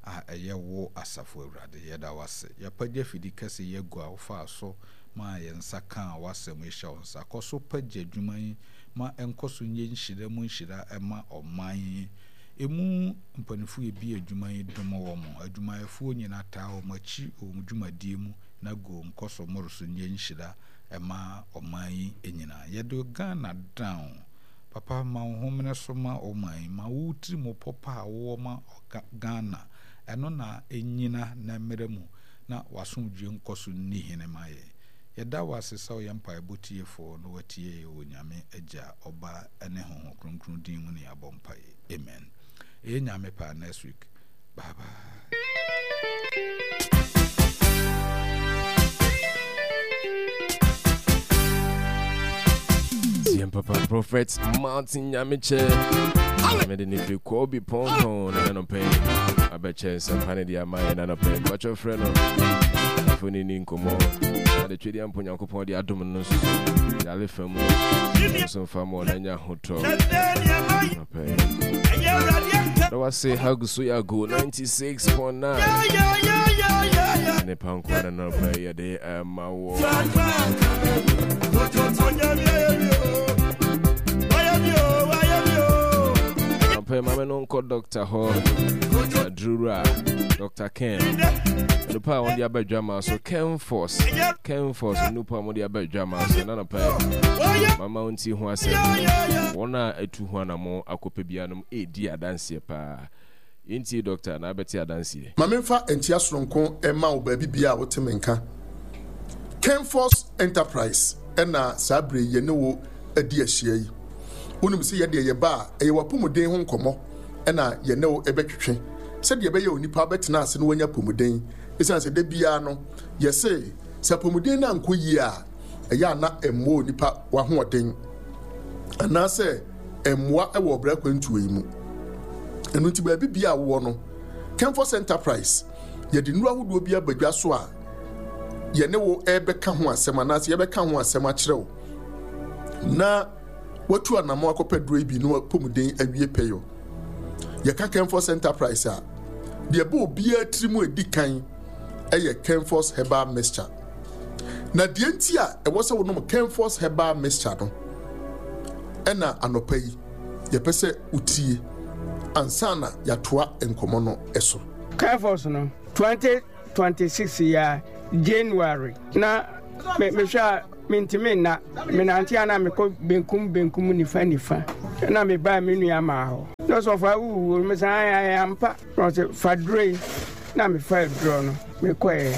a ɛyɛ wo asafo Awurade. Yɛda wo ase. Yɛapagya fidi kɛse yi agu a wofaa so ma yɛn nsa kaa w'asɛm yi hyɛ wo nsa. Kɔ so pagya adwuma yi ma ɛnkɔ so nyɛ nhyira mu nhyira ɛma ɔman yi. Emu mpanimfoɔ ebi adwuma yi dom wɔn. Adwumayɛfoɔ nyinaa taa wɔn akyi wɔ wɔn dwumadie mu na go nkɔ so mmoro so nyɛ nhyira ɛma ɔman yi nyinaa. Yɛde Ghana down. Papa, ma wo homene so ma ɔman yi. Ma wo tiri mu pɔpa a wowɔ ma Ghana. Ɛno na ɛnyina na mmerɛ mu na w'asomdwie nkɔ so nni hene ma yɛn. Yɛda wo ase sɛ woyɛ mpaebɔ tiefoɔ na watie yɛn wɔ Nyame Agya, Ɔba ne Honhom Kronkron din mu ne yɛabɔ mpaeɛ. Amen. Ɛyɛ Nyame paa next week. Bye bye. T M Papa Prophet Martin Nyamiche. Mede ne firi Kobe Ponton na nanɔpɛ abɛkyɛ nsɛmpa ne de ama yɛ nanɔpɛ mpakyɛ frɛ no afo ne ni nkɔmmɔ na de twedeɛ mpo Nyankopɔn de adom no nso so yare fa mu nso mfa ma ɔna nya ahotɔ nɔpɛ na wase hagu so yɛ ago ninety-six point nine ne panko na nanɔpɛ yɛde ɛma wɔ. Pɛ maame no nkɔ doctor hɔ adurura Doctor Ken nipa a wɔde aba adwama so, Ken Force, Ken Force nipa a wɔde aba adwama so na nɔpɛ mama nti ho asɛm wɔn a atu ho anamo akɔpɛ bianom edi adanseɛ paa. Yɛntie doctor na abɛte adanseɛ. Ma memfa nkyia soronko mma wo baabi biara a wote me nka. Kenfos Enterprise ɛna saa bere yi yɛne wo adi ahyia yi. Wonim sɛ yɛdeɛ yɛba a ɛyɛ w'apɔmuden ho nkɔmmɔ ɛna yɛne wo ɛbɛtwetwe sɛdeɛ ɛbɛyɛ onipa bɛtena ase na wanya apɔmuden. Ɛsiane sɛ da biara no yɛse sɛ apɔmuden no ankɔ yie a ɛyɛ a na ɛmmoa onipa w'ahoɔden anaasɛ ɛmmoa ɛwɔ ɔbrɛ kwantuo yi mu. Ɛno nti baabi bia a wowɔ no, Kenfos Enterprise yɛde nnuro ahodoɔ bi aba dwa so a yɛne wo ɛbɛka ho asɛm anaasɛ yɛbɛka ho asɛm akyerɛ wo na watu anammɔn akɔpɛ duro yi bi na wapɔmuden awie pɛyɔ. Yɛka Kenfos Enterprise a, deɛ ɛbɔ obiara tiri mu edi kan ɛyɛ Kenfos Herbal Mixture. Na deɛ nti a ɛwɔ sɛ wonom Kenfos Herbal Mixture no ɛna anɔpa yi yɛpɛ sɛ wotie ansa na yɛatoa nkɔmmɔ no so. Kenfos no twenty twenty-six ya January na me mehwɛ a mentumi nna menante a na mekɔ benkum benkum nifa nifa na mebaa me nua maa hɔ na ɔsɔfo awuwu me san ayɛ ampa na ɔsɛ fa duro yi na mefa duro no mekɔɛ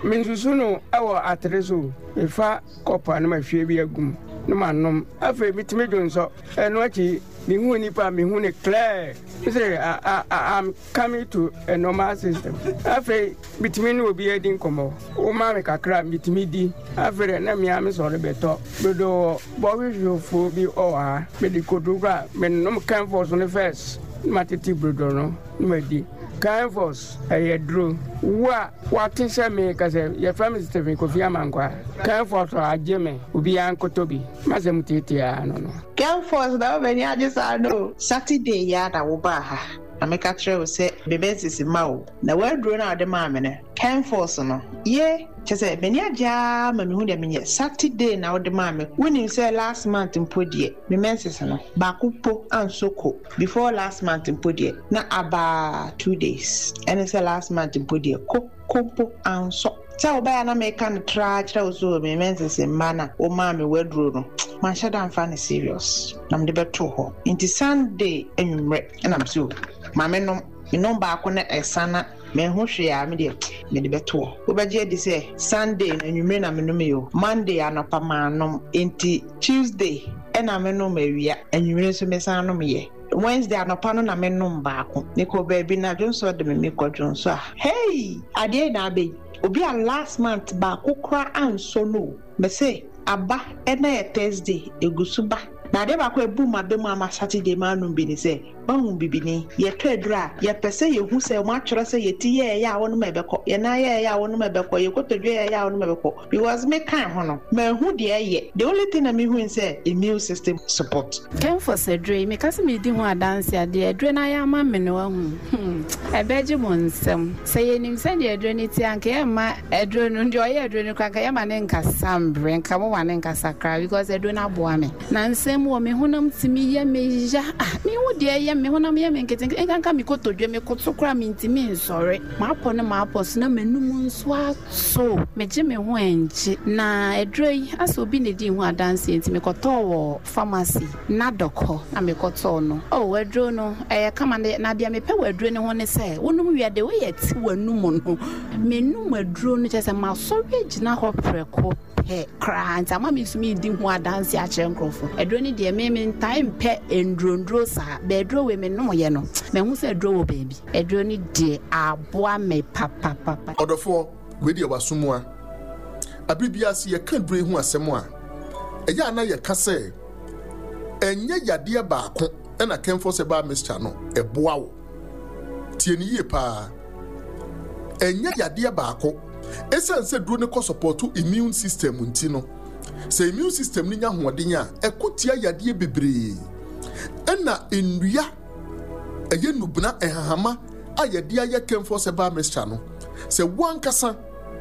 mensusu no ɛwɔ atere so mefa kɔpa no mahwie bi agum na manom afei metumi dwonsɔ ɛno akyi mehu nipa mehu ne clear sɛ I'm coming to a normal system afei bitumi ne obi adi nkɔmmɔ woma me kakra bitumi di afei na mmea me sɔre bɛtɔ dodo bɔhwehwɛfoɔ bi ɔwɔ ha mede kodu kora menom Kenfos no first na matete brodo no na madi Kenfos ɛyɛ duro wo a wate sɛ me kasɛ yɛfrɛ me Stephen Kofi Amankwa Kenfos agye me obiara nkotɔ bi masɛm tietia no no Kenfos na wobɛni agye saa no Saturday ya na wobaa ha na meka kyerɛ wo sɛ bebɛnsisi ma wo na waduro na wode maa me no Kenfos no ye kyɛ sɛ m'ani agye a ma mehu deɛ menyɛ Saturday na wode maa me wonim sɛ last month mpo deɛ me menses no baako po anso ko before last month mpo deɛ na aba two days ɛne sɛ last month mpo deɛ ko ko mpo anso sɛ wobɛyɛ na meka no tra kyerɛ wo so me menses mma na wo maa me waduro no manhyɛ da mfa no serious na mede bɛto hɔ nti Sunday anwummerɛ ɛna me so ma me nom me nom baako na ɛsa na me ho hwe a me deɛ me de bɛto hɔ wobɛgye adi sɛ Sunday na anwummerɛ na me nom yo Monday anɔpa ma nom nti Tuesday ɛna me nom awia anwummerɛ nso me san nom yɛ Wednesday anɔpa no na me nom baako mekɔ baabi na dwonso de me mekɔ dwonso a hey adeɛ na abɛyi obi a last month baako kora anso no me se aba ɛna yɛ Thursday egusu ba na ade baako ebu ma be mu ama Saturday ma anum bi ni sɛ wahu bibini yɛtɔ aduru a yɛpɛ sɛ yɛhu sɛ mo atwerɛ sɛ yɛti yɛɛyɛ a wɔnom ɛbɛkɔ yɛnan yɛɛyɛ a wɔnom ɛbɛkɔ yɛkɔtɔdwe yɛɛyɛ a wɔnom ɛbɛkɔ because me kan ho no mahu deɛ ɛyɛ the only thing na mehu sɛ immune system support. Kenfos aduro yi meka sɛ medi ho adanse adeɛ aduro no ayɛ ama me no wahu ɛbɛgye mo nsɛm sɛ yɛnim sɛdeɛ aduro no ti anka yɛmma aduro no deɛ ɔyɛ aduro no kora anka yɛma ne nkasa mbrɛ nka moma ne nkasa koraa because aduro no aboa me na nsɛm wɔ me honam tumi yɛ me ya ah mehu deɛ ɛyɛ me honam yɛ me nketenkete nkanka me kotodwe me koto koraa mentumi nsɔre maapɔ ne maapɔ so na m'anum nso ato megye me ho ɛngye na aduro yi asɛ obi ne di ho adanse nti mekɔtɔɔ wɔ pharmacy na dɔkɔ na mekɔtɔɔ no oh aduro no ɛyɛ kama na deɛ mepɛ wɔ aduro no ho ne sɛ wonom wie de woyɛ te w'anum no menum aduro no kyerɛ sɛ masɔre agyina hɔ prɛko pɛ koraa nti ama me nso medi ho adanse akyerɛ nkurɔfo aduro no deɛ me mentae mpɛ nduronduro saa bɛaduro wei menom yɛ no mahu sɛ aduro wɔ baabi aduro no deɛ aboa me papapapa. Ɔdɔfoɔ wei deɛ wasomoa abere biara sɛ yɛka duro yi ho asɛm a ɛyɛ a na yɛka sɛ ɛnyɛ yadeɛ baako ɛna Kenfos Herbal Mixture no ɛboa wo tie ne yie paa ɛnyɛ yadeɛ baako ɛsiane sɛ duro no kɔ support immune system nti no sɛ immune system no nya ahoɔden a ɛko tia yadeɛ bebree ɛna nnua ɛyɛ nubena ɛhahama a yɛde ayɛ Kenfos Herbal Mixture no sɛ woankasa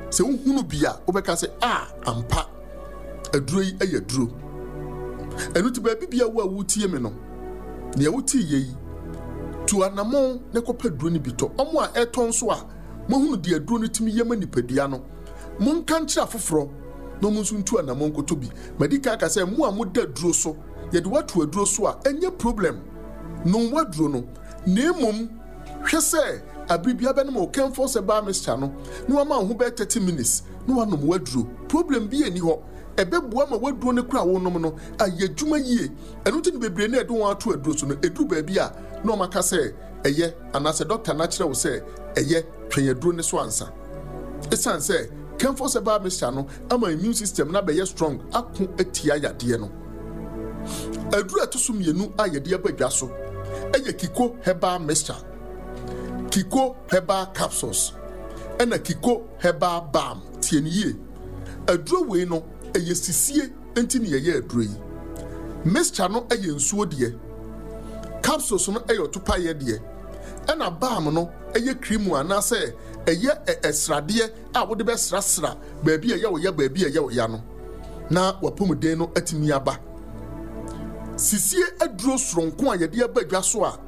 sɛ wohunu bi a wobɛka sɛ a ampa aduro yi ɛyɛ duro ɛno nti baabi bia wo a wotie me no nea wotie yɛ yi tu anammɔn na kɔpɛ duro no bi tɔ ɔmo a ɛtɔn nso a mohunu deɛ aduro no tumi yɛ ma nipadua no monka nkyerɛ afoforɔ na ɔmo nso ntu anammɔn nkɔtɔ bi madi kan aka sɛ mo a moda duro so yɛde woato aduro so a ɛnyɛ problem nom waduro no na mmom hwɛ sɛ Abere biara bɛnom wo Kenfos Herbal Mixture no na wama wo ho bɛyɛ thirty minutes na wanom w'aduro. Problem biara nni hɔ. Ɛbɛboa ma w'aduro no koraa a wonom no ayɛ adwuma yie. Ɛno nti na bebree no a yɛde wɔn ato aduro so no, ɛduru baabi a na wɔaka sɛ ɛyɛ anaasɛ dɔkta no akyerɛ wo sɛ ɛyɛ, twɛn aduro no so ansa. Ɛsiane sɛ Kenfos Herbal Mixture no ama immune system no abɛyɛ strong ako atia yadeɛ no. Aduro a ɛto so mmienu a yɛde aba dwa so yɛ Kiko Herbal Mixture, Kiko Herbal Capsules, ɛna Kiko Herbal Balm. Tie no yie. Aduro wei no, ɛyɛ sisie nti na yɛyɛ aduro yi. Mixture no yɛ nsuo deɛ, capsules no yɛ ɔtopaeɛ deɛ, ɛna balm no yɛ cream anaasɛ ɛyɛ ɛsradeɛ a wode bɛsrasra baabi a ɛyɛ wo ya baabi a ɛyɛ wo ya no na w'apɔmuden no atumi aba. Sisie aduro soronko a yɛde aba dwa so a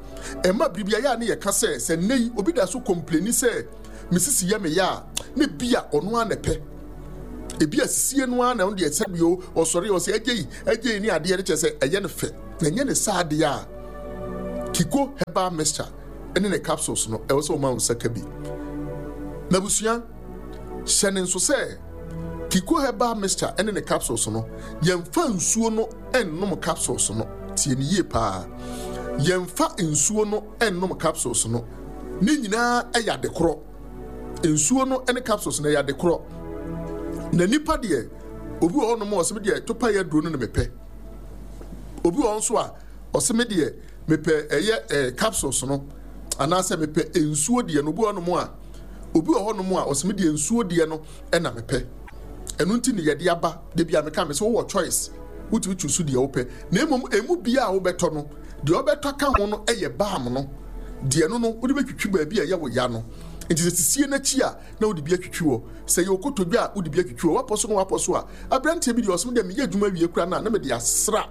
ɛma biribi ayɛ a ne yɛka sɛ sɛ nnɛ yi obi da so kɔmpleni sɛ me sisi yɛ me ya a, ne bi a ɔno ara na ɛpɛ. Ebi a sisie no ara na ɔno deɛ sɛbi o ɔsɔre ɔsɛ agye yi agye yi ne adeɛ no kyerɛ sɛ ɛyɛ no fɛ na ɛnyɛ ne saa adeɛ a Kiko Herbal Mixture ne ne capsules no ɛwɔ sɛ ɔma wo nsa ka bi. N'abusua hyɛ ne nso sɛ Kiko Herbal Mixture ne ne capsules no yɛmfa nsuo no nnom capsules no. Tie ne yie paa, yɛmfa nsuo no nnom capsules no. Ne nyinaa yɛ ade korɔ. Nsuo no ne capsules no yɛ ade korɔ. Na nipa deɛ, obi wɔ hɔnom a ɔsɛ me deɛ topa yɛ aduro no na mepɛ. Obi wɔ hɔ nso a ɔsɛ me deɛ mepɛ ɛyɛ ɛɛ capsules no anaasɛ mepɛ nsuo deɛ no. Obi wɔ hɔnom a obi wɔ hɔnom a ɔsɛ me deɛ nsuo deɛ no na mepɛ. Ɛno nti ne yɛde aba. Da bi a meka me sɛ wowɔ choice, wotumi choose deɛ wopɛ. Na mmom emu biara a wobɛtɔ no, deɛ wobɛtɔ aka ho no yɛ balm no. Deɛ no no wode bɛtwitwi baabi a ɛyɛ wo ya no. Nti sɛ sisie no akyi a na wode bi atwitwi hɔ. Sɛ ɛyɛ okotodwe a wode bi atwitwi hɔ. Woapɔ so na woapɔ so a, aberanteɛ bi deɛ ɔse me deɛ meyɛ adwuma wie koraa no a na mede asra.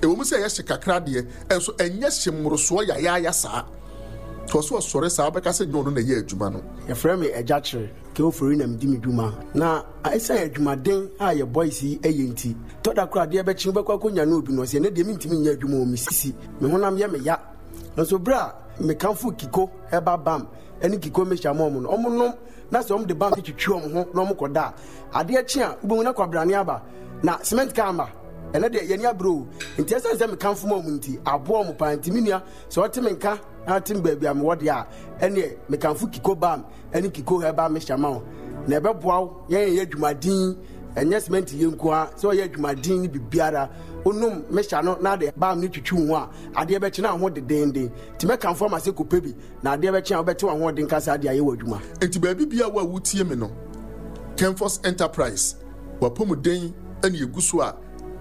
Ɛwɔ mu sɛ ɛyɛ hye kakra deɛ, nso ɛnyɛ hye mmorosoɔ yayaaya saa. Nti ɔse ɔsɔre saa wobɛka sɛ nyɛ ɔno na ɛyɛ adwuma no. Yɛfrɛ me Agyakyere Keofori na medi me dwuma. Na ɛsiane adwumaden a yɛ boys yi yɛ nti, tɔ da koraa adeɛ bɛkye wobɛkɔ akɔnya ne obi no ɔse ɛnɛ deɛ mentumi nyɛ adwuma o, me sisi, me honam yɛ me ya. Nso berɛ a mekamfo Kiko Herbal Balm ne Kiko Mixture ma wɔn no, wɔnom na sɛ wɔde balm no twitwi wɔn ho na wɔkɔda a, adeɛ kye a wobɛhu na kwabrane aba na cement kaa mma. Ɛnɛ deɛ yɛni abere o. Nti ɛsiane sɛ mekamfo ma wɔn nti, aboa wɔn paa. Nti me nua, sɛ ɔte me nka na ɔte me baabi a mewɔ deɛ a, ɛneɛ mekamfo Kiko Balm ne Kiko Herbal Mixture ma wo. Na ɛbɛboa wo yɛn yɛyɛ adwumaden, ɛnyɛ cement yɛ nko ara, sɛ ɔyɛ adwumaden ne biribiara. Wonom mixture no na de balm no twitwi wo ho a, adeɛ bɛkye na ho dedenden. Nti mɛkamfo ama sɛ kɔpɛ bi na adeɛ bɛkye a wobɛte w'ahoɔden ka saa de ayɛ w'adwuma. Enti baabi biara wo a wotie me no, Kenfos Enterprise, w'apɔmuden na egu so a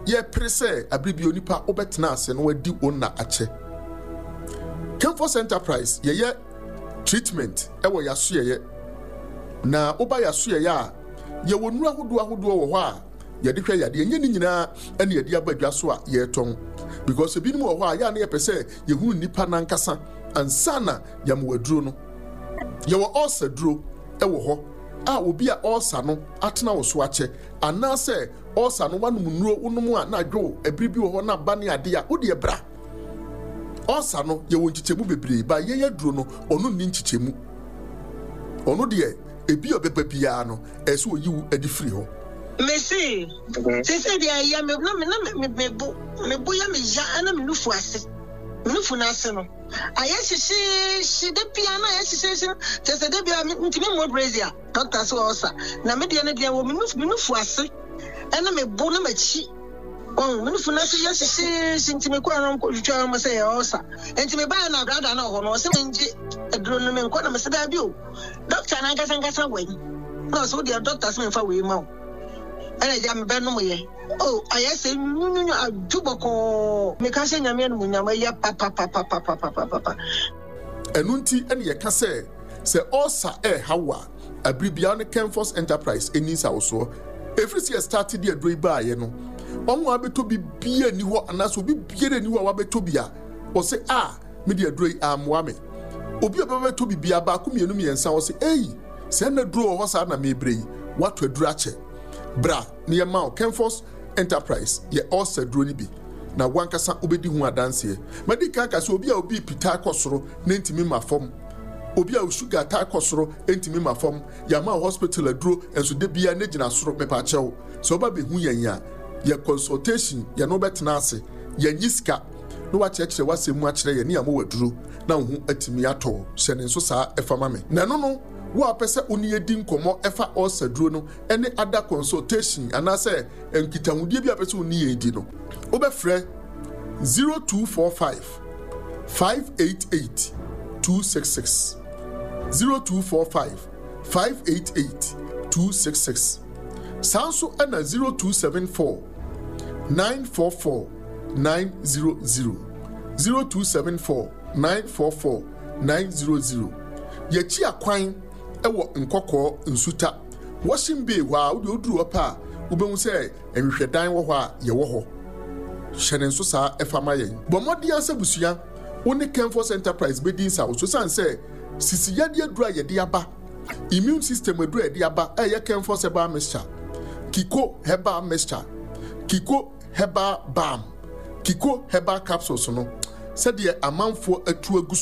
yɛpere sɛ abere bi onipa wobɛtena ase na wadi wo nna akyɛ. Kenfos Enterprise, yɛyɛ treatment wɔ y'asoɛeɛ. Na woba y'asoɛeɛ a, yɛwɔ nnuro ahodoɔ ahodoɔ wɔ hɔ a yɛde hwɛ yadeɛ. Ɛnyɛ ne nyinaa ɛna yɛde aba dwa so a yɛretɔn. Because ebinom wɔ hɔ a, yɛ a na yɛpɛ sɛ yɛhunu nnipa no ankasa ansa na yɛama wo aduro no. Yɛwɔ ulcer duro wɔ hɔ a obi a ulcer no atena wo so akyɛ anaasɛ ulcer no wanom nnuro wonom a na adwo wo, ɛbere bi wɔ hɔ na aba ne adeɛ a, wo deɛ bra. Ulcer no yɛwɔ nkyekyɛmu bebree, ba yɛn aduro no ɔno nni nkyekyɛmu. Ɔno deɛ ebi a ɔbɛba biara no ɛsɛ sɛ ɔyi wo de firi hɔ. Mese, seesei deɛ ɛyɛ me na me na me me bo me bo yɛ me ya ɛna me nufu ase me nufu no ase no ayɛ hyehyeehye da biara na ayɛ hyehyeehye kyerɛ sɛ da biara mentumi mmɔ brazier doctor sɛ ɔsa na me deɛ no deɛ wɔ me nufu me nufu ase ɛna me bo na m'akyi wɔn me nufu no ase yɛ hyehyeehye nti mekɔɔ no nkɔtwitwa wɔn sɛ yɛ ɔsa nti mebaeɛ na brada no wɔ hɔ no ɔsɛ mengye aduro no menkɔ na mesɛ daabi o doctor no ankasa ankasa wɔ yi na ɔsɛ wo deɛ doctor sɛ memfa wei ma wo ɛna agya mebɛnom yɛ o ayɛ sɛ nwunwunwunu adwo bɔkɔɔ meka hyɛ Nyame animuonyam ɛyɛ papapapapapapapa. Ɛno nti na yɛka sɛ, sɛ ulcer ɛreha wo a, abere biara wo ne Kenfos Enterprise nni nsawosoɔ. Ɛfiri sɛ yɛstarte de aduro yi baeɛ no, wɔn a wɔabɛtɔ bi biara nni hɔ anaasɛ obi biara nni hɔ a wabɛtɔ bi a ɔse a me de aduro yi ammoa me. Obi a ɔbɛba bɛtɔ bi biara baako mmienu mmiɛnsa ɔse ei sɛ na aduro wɔ hɔ saa na mebrɛ yi, woatɔ aduro akyɛ. Bra na yɛma wo Kenfos Enterprise yɛ ulcer duro no bi na wankasa wobɛdi ho adanseɛ. Madi kan aka sɛ obi a obi pitaa kɔ soro na ntumi ma fam, Obi a wo sugar taa kɔ soro ntumi ma fam, yɛama wo hospital aduro nso da biara ne gyina soro, mepaakyɛw sɛ woba bɛhu yɛn a, yɛ consultation, yɛne wo bɛtena ase, yɛnnye sika, na woakyerɛkyerɛ w'asɛm mu akyerɛ yɛn ne yɛama wo aduro na wo ho atumi atɔ wo. Hyɛ ne nso saa ɛfa ma me. Na ɛno no, wo a wopɛ sɛ wo ne yɛn di nkɔmmɔ ɛfa ulcer duro no ne other consultation anaasɛ nkitahodie bi a wopɛ sɛ wo ne yɛn di no, wobɛfrɛ zero two four five five eight eight two six six, zero two four five five eight eight two six six. Saa nso ɛna zero two seven four nine four four nine zero zero, zero two seven four nine four four nine zero zero. Yɛakyi akwan wɔ Nkɔkɔɔ Nsuta Washing Bay hɔ a, wode oduru hɔ pɛ a, wobɛhu sɛ nhwehwɛdan wɔ hɔ a yɛwɔ hɔ. Hyɛ ne nso saa ɛfa ma yɛn. Bɔ mmɔden ara sɛ abusua, wo ne Kenfos Enterprise bɛdi nsawoso esiane sɛ sisi yadeɛ aduru a yɛde aba, immune system aduru a yɛde aba a ɛyɛ Kenfos Herbal Mixture, Kiko Herbal Mixture, Kiko Herbal Balm, Kiko Herbal Capsules no, sɛdeɛ amanfoɔ atu agu